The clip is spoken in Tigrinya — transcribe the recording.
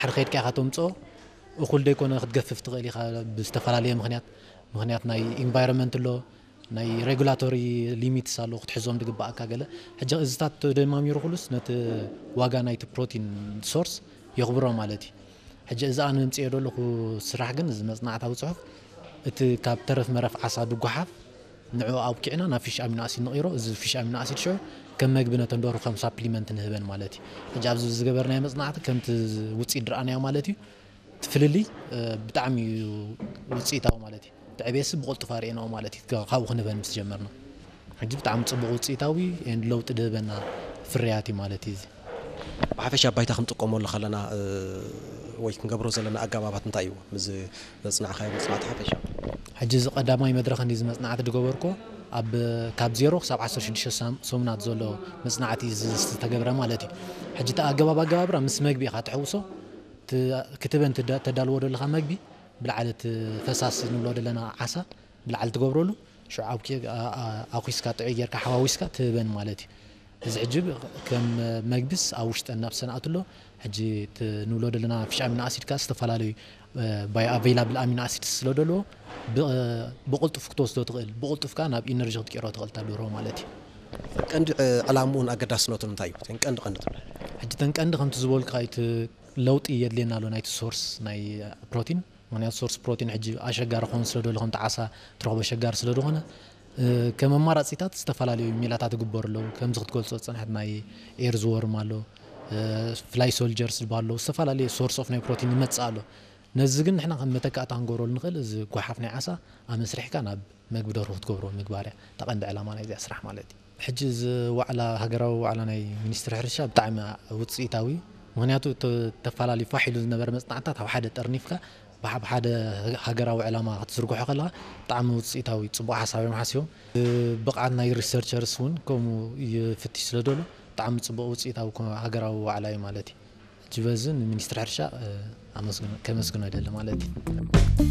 ድሕሪ ከይድካ ኢኻ ተምፅኦ። እኹል ደይኮነ ክትገፍፍ ትኽእል ኢኻ ብዝተፈላለየ ምኽንያት። ምኽንያት ናይ ኢንቫይሮንመንት ኣሎ፣ ናይ ሬጉላቶሪ ሊሚትስ ኣሎ ክትሕዞም ዝግባኣካ ገለ። ሕጂ እዚታት ተደማሚሩ ኩሉስ ነቲ ዋጋ ናይቲ ፕሮቲን ሶርስ የኽብሮ ማለት እዩ። ሕጂ እዚ ኣነ ምፅኦ ዘለኹ ስራሕ ግን እዚ መፅናዕታዊ ፅሑፍ እቲ ካብ ተረፍ መረፍ ዓሳ ድጓሓፍ ንዕኡ ኣብኪዕና ናብ ፊሽ ኣሚኖ ኣሲድ ንቕይሮ። እዚ ፊሽ ኣሚኖ ኣሲድ ሽዑ ከም መግቢ ነተን ደርሁ ከም ሳፕሊመንት ንህበን ማለት እዩ። ሕጂ ኣብዚ ዝገበርናዮ መፅናዕቲ ከምቲ ውፅኢት ዝረኣናዮ ማለት እዩ። እቲ ፍልልይ ብጣዕሚ እዩ ውፅኢታዊ ማለት እዩ። እቲ ዕቤትሲ ብቕልጡፍ ኣርእየናኦ ማለት እዩ። ካብኡ ክንህበን ምስ ጀመርና ሕጂ ብጣዕሚ ፅቡቕ ውፅኢታዊ and ለውጢ ድህበና ፍርያት እዩ ማለት እዩ። እዚ ብሓፈሻ ባይታ ክንጥቀመሉ ከለና ወይ ክንገብሮ ዘለና ኣገባባት እንታይ እዩ? ምስ ዘፅናዕካዮ መፅናዕቲ ሓፈሻ ሕጂ እዚ ቀዳማይ መድረኽ እንዲ እዚ መፅናዕቲ ዝገበርኮ ኣብ ካብ ዜሮ ክሳብ ዓሰርተ ሽዱሽተ ሰሙናት ዘሎ መፅናዕቲ ዝተገብረ ማለት እዩ። ሕጂ እቲ ኣገባብ ኣገባብራ ምስ መግቢ ኢኻ ትሕውሶ። ክትበን ተዳልዎ ዘለኻ መግቢ ብላዕሊ እቲ ፈሳሲ ንብሎ ዘለና ዓሳ ብላዕሊ ትገብረሉ ሽዑ ኣብኪ ኣኩስካ ጥዑይ ጌርካ ሓዋዊስካ ትህበን ማለት እዩ። እዚ ሕጂ ከም መግብስ ኣብ ውሽጠን ናብ ሰንኣት ኣሎ። ሕጂ ንብሎ ዘለና ፊሽ ኣሚኖ ኣሲድ ካ ዝተፈላለዩ ባይ ኣቬይላብል ኣሚኖ ኣሲድ ስለ ደለዎ ብቕልጡፍ ክትወስዶ ትኽእል፣ ብቕልጡፍ ካ ናብ ኢነርጂ ክትቅይሮ ትኽእል ተደርሆ ማለት እዩ። ቀንዲ ዕላምኡን ኣገዳስነቱን እንታይ እዩ? ቀንዲ ቀንዲ ትብለ ሕጂ ተን ቀንዲ ከምቲ ዝበልካ እቲ ለውጢ የድልየና ኣሎ ናይቲ ሶርስ ናይ ፕሮቲን። ምክንያቱ ሶርስ ፕሮቲን ሕጂ ኣሸጋሪ ክኸውን ስለ ደሎ ከምቲ ዓሳ ትረኽቦ ኣሸጋሪ ስለ ዝኾነ ከም ኣማራፂታት ዝተፈላለዩ ሜላታት ይግበሩ ኣለዉ። ከምዚ ክትገልፆ ዝፀንሐት ናይ ኤርዝ ወርም ኣሎ፣ ፍላይ ሶልጀርስ ዝበሃሉ ኣለዉ። ዝተፈላለዩ ሶርስ ኦፍ ናይ ፕሮቲን ይመፅእ ኣሎ። ነዚ ግን ንሕና ከም መተካእታ ክንገብረሉ ንኽእል እዚ ጓሓፍ ናይ ዓሳ ኣመስሪሕካ ናብ መግቢ ደርሁ ክትገብሮ ምግባር እያ እታ ቀንዲ ዕላማ ናይዚኣ ስራሕ ማለት እዩ። ሕጂ እዚ ዋዕላ ሃገራዊ ዋዕላ ናይ ሚኒስትሪ ሕርሻ ብጣዕሚ ውፅኢታዊ እዩ። ምክንያቱ ተፈላለዩ ፋሕ ኢሉ ዝነበረ መፅናዕትታት ኣብ ሓደ ጠርኒፍካ ብሓብ ሓደ ሃገራዊ ዕላማ ክትዝርግሖ ከለካ ብጣዕሚ ውፅኢታዊ ፅቡቅ ሓሳብ እዮም ሓሲቦም። ብቕዓት ናይ ሪሰርቸርስ እውን ከምኡ ይፍትሽ ስለ ደሎ ብጣዕሚ ፅቡቅ ውፅኢታዊ ሃገራዊ ዋዕላ እዩ ማለት እዩ። ሕጂ በዚ ንሚኒስትሪ ሕርሻ ከመስግኖ ይደሊ ማለት እዩ።